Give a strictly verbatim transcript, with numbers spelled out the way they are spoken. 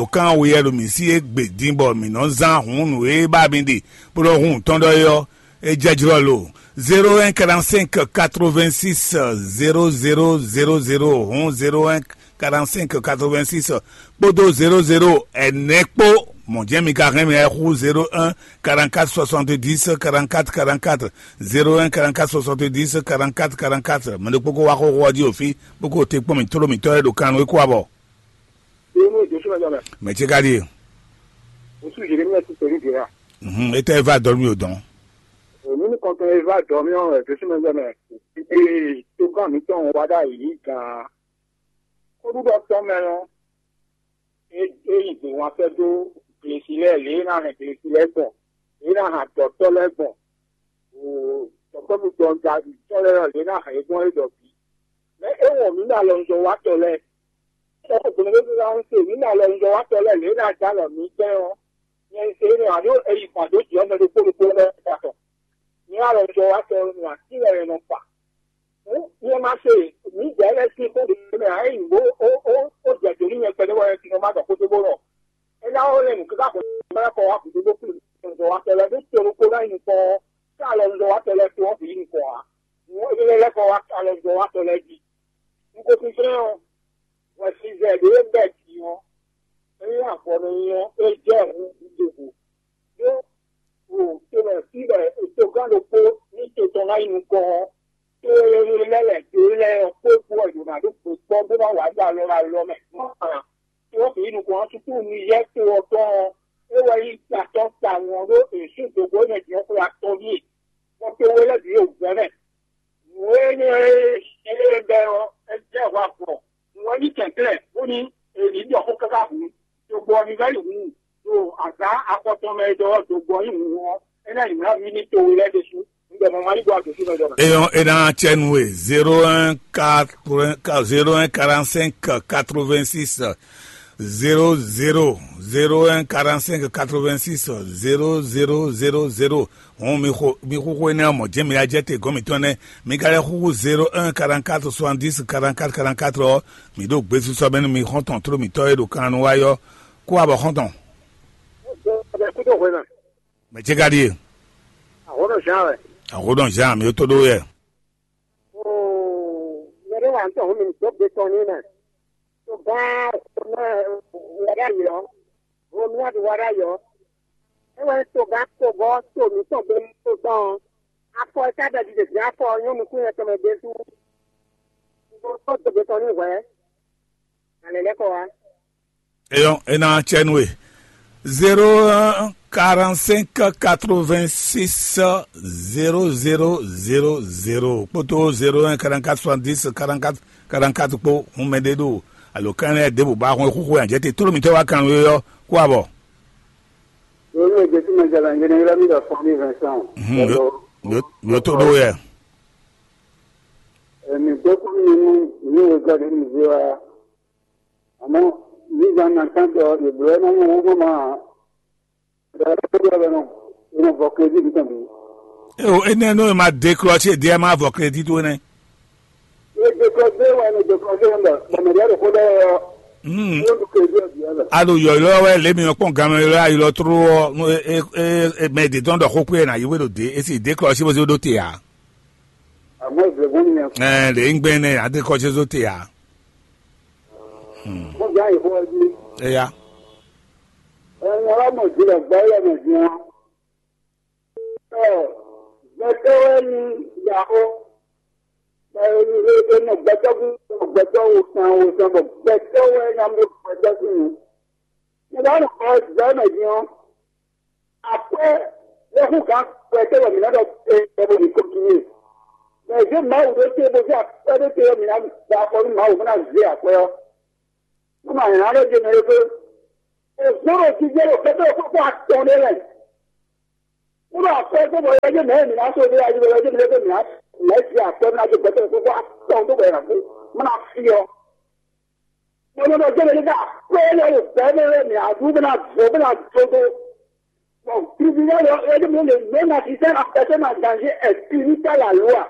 ɖo kan weyɛ ɖo mǐ sí égbé din bɔ mǐ nɔ zán hǔn nǔ e ba mi ɖe bó nɔ hun tɔn ɖɔ é ɔ́, é jɛ jlɔ́ lo. Zéro un quarante cinq quatre vingt six zéro zéro zéro zéro, hǔn zéro un quarante cinq quatre vingt six kpódó zéro zéro ɛnɛ kpó. Mɔ̌ jɛ́n mi ka hɛn mì wɛ hú zéro un quarante quatre soixante dix quarante quatre quarante quatre, zéro un quarante quatre soixante dix quarante quatre quarante quatre. Mɛ ɖokpó ko wá xóxó ɔ́ jí o fí bó ko te kpɔ́n mì tló mǐtɔn e ɖo kan nú é kó abɔ. Yémú Jésù mɛ jɔmɛ. Mɛ ce ka ɖíe. Ŋsu Jérémie ti pɛlú Jérá. Mhm, etɛ eva dɔn mi o dɔn. Èmi ní kɔntɔn eva dɔn mi ɔn Jésù mɛ jɔmɛ. Ee, tó gán mi tɔn wá dá yìí gan. Kódúɖɔ tɔn mɛ ɔn. É é yi gbè wan sɛ́ dó glesi lɛ́ɛ lě e ná hɛn glesi lɛ́ɛ gbɔn, lě e ná hɛn dɔ̌tɔ́ lɛ́ɛ gbɔn, dɔ̌tɔ́ mi dɔn da tɔ́ lɛ́ɛ lě e ná hɛn é gbɔn é ɖɔ bǐ. Mɛ é wɔn mǐ ɖo alɔnuzɔ́watɔ́ lɛ́ɛ. Sɔ́ gbɔn ɖé ná se mǐ ɖo alɔnuzɔ́watɔ́ lɛ́ɛ lě e ná dó alɔ mǐ gbɛn ɔ́, nyɛ se énɛ́ ǎ ɖó è yi gbǎn dó jǐ ɔ́ mɛ ɖokpó ɖokpó lɛ́ɛ tɔn. Mǐ alɔnuzɔ́watɔ́ nɔ atín wɛ è nɔ fa. Hǔn nyɛ ma se mǐdɛɛ lɛ́ɛ sín xó ɖě mɛ ǎ, é nyí bó ó ó ó jɛ dǒ nú nyɛ kpɛɖé wɛ é nɔ má ɖɔ xó dó bó nɔ. É ná ó lɛ́ nǔ káká xo bá kɔ wá gǔdo bó kplé nǔ wa sɛ lɛ́ ɖó to ɖokpó ná nyí nukɔn ɔ́, ká alɔ nuzɔ wa sɛ lɛ́ to ɔ́ bǐ nukɔn ǎ. Nǔ énɛ́ lɛ́ɛ kɔ wá alɔ nuzɔ wa sɛ lɛ́ɛ jí. Un ko tunwun ɔ́, hwɛsizɛ ɖě e bɛ́ din ɔ́, é nyí avɔ nɔ nyi ɔ́, é jɛ hǔn gǔdo ɖo tomɛ fí wɛ togán ɖokpó ní to tɔn ná yi nukɔn ɔ́, to e lɛ́ lɛ̌ dó lɛ́ɛ ɔ́ kpó kpó wɛ yǒ ná ɖó gbe kpɔ́ bó ná wǎ ɖo alɔ alɔ mɛ. Mɔ̌ ǎ, to ɔ́ bǐ yi nukɔn ɔ́, súkúnu yɛ́ to ɔ́ tɔn ɔ́, é wɛ nyí atɔ́ tawun ɔ́ ɖó è sú dǒgbó nɛ́ din ɔ́ xwé atɔ́ ɖíe, bɔ to we lɛ́ɛ bǐ ɖo wǔvɛ́ mɛ. Nǔ e nyí é bɛ́ ɔ́, é jɛ hwa gbɔn. Nǔ e nyí kɛnklɛ́n bónú è nǐ ɖɔ xó káká hǔn, ɖo gbɔ ɔ́ ní vɛ́ yi hǔn, ɖo azǎn afɔtɔn mɛ e ɖɔ ɔ́, ɖo gbɔ nyí hǔn ɔ́, é ná yi mlǎ mì ní towe lɛ́ɛ ɖésú. Un ɖɔ mɔ ma ní gbɔ adǒ sí mɛ jɔ mɛ. Eyɔn e ná cɛ nú we zéro un quatre zéro un quarante cinq quatre vingt six zéro zéro zéro un quarante cinq quatre vingt six zéro zéro zéro zéro. Hɔn mi xo mi xóxó énɛ́ ɔ́ mɔ̌ jɛ́n mi ná jɛ te gɔ́n mǐtɔn nɛ́. Mi ka lɛ́ xúxú zéro un quarante quatre soixante dix quarante quatre quarante quatre ɔ́, mǐ ɖo gbesisɔ mɛ nú mi xɔ́ntɔn tló mǐtɔn e ɖo kan nu wá yɔ. Kó abɔ xɔ́ntɔn. Kúdó hwena. Mɛ ce ka ɖíe? Àhónɔ Jean wɛ. Àhónɔ Jean, mi tó ɖó yɛ. Mɛ ɖé wà ń tɔn hó mi ní dó gbe tɔn ní mɛ. Tó gán mɛ wɛ ɖ'ayǐ ɔ́, Romia ɖi wá ɖ'ayǐ ɔ́, é wɛ to gán to bɔ to mǐtɔn gbe to gbɔn ɔ́, afɔ e ka ɖɔ ɖiɖe gbé afɔ ɔ́ nyɔ́ nukún nyɛ tɔn mɛ ɖésú. Bó dó gbe tɔn ní hwɛ̌, alɛ lɛ́ kɔ wá. Eyɔn e ná cɛ nú we. Zéro un quarante cinq quatre vingt six zéro zéro zéro zéro kpódó zéro un quarante quatre soixante dix quarante quatre quarante quatre kpó. Hun mɛ ɖé ɖo alǒkan lɛ́ɛ ɖěbǔ ba hɔn xúxú ɛ àjẹtɛ tló mǐtɔn wá kan wé ɔ́ kó abɔ. Lórí èdè tí mo jẹ lọ ń gbé ní Rẹ́mi lọ fún mi Vincent. Yóò tó ɖó yɛ. Èmi gbé kúrú nínú ìwé ìwé gọ́dọ̀ ní ìwé wa. Àmọ́ nígbà náà sáńtọ̀ ìbúrẹ́ náà wọ́n wọ́n máa. Ìdájọ́ tó bẹ̀rẹ̀ náà, ìmọ̀ bọ̀ kejì nìkan bí. E o, enɛ nɔ ma décrocher ɖe ma vɔ crédit to nɛ. Ìdè kan dé wà ní ìdè kan dé ń bọ̀. Bọ̀mọ̀dé rẹ̀ kó dẹ́ yọ. Hmm. Yóò dùn kejì ọ̀dì ẹ̀ lọ. Alo yɔyɔ wɛ lé mi kpɔn gamɛ yɔ ayilɔ tró ɔ nu e e e mɛ de dɔn dɔ xó kpé na yi wé ɖo de esi décrocher bó se ɖó te ya. Àmọ́ ìbẹ̀rẹ̀ bó nìyẹn. Ɛ lè ń gbẹ́ nɛ adécrocher zó te ya. Mo gbá ìfọ́ ọdún. Ẹ ya. Ẹ̀yin alámọ̀jìnlẹ̀ gbọ́ yẹ̀ mọ̀ jù wọn. Ẹ gbẹtọ́ wẹ́ ní ìyàwó. Ẹ ẹ nọ gbẹtọ́ fún gbẹtọ́ wo san wo san bọ̀ gbẹtọ́ wẹ́ ní amú gbẹtọ́ sí mi. Mo bá nọ kọ́ ìgbà mọ̀ jù wọn. Akwɛ́ lɛ́ hú gǎn akwɛ́ tɛ́ wɛ mǐ ná ɖɔ é é bó ní kɔntínúwe. Mɛ zé Mawu ɖó té bó zé akwɛ́ ɖó té wɛ mǐ ná da afɔ nú Mawu bó ná zé akwɛ́ ɔ́. Nú mǎ nyá lɛ́ ɖe mɛ é gbé. È zɔ́n ɖo jijɛ ɖo kɛ́tɛ́ kókó atɔn ɖé lɛ. Nú ɖo akwɛ́ tó bɔ yɛ jẹ́ mɛ mǐ ná só ɖé ayé bɔ yɛ jẹ́ mɛ mǐ ná mǐ ná zé akwɛ́ ná dó gbɛtɛ́ kókó atɔn tó bɔ yɛ ná kú. Má ná fí ɔ́. Mo nɔ ɖɔ jẹ́ mɛ ká akwɛ́ lɛ ɖo gbɛ mɛ mǐ ná dú bó ná zó bó ná dó dó. Bon, tribunal ɔ́, é ɖo mɛ lě mɛ na si sɛ́n a pɛsɛn a danzé ɛ́ pini ta la loi.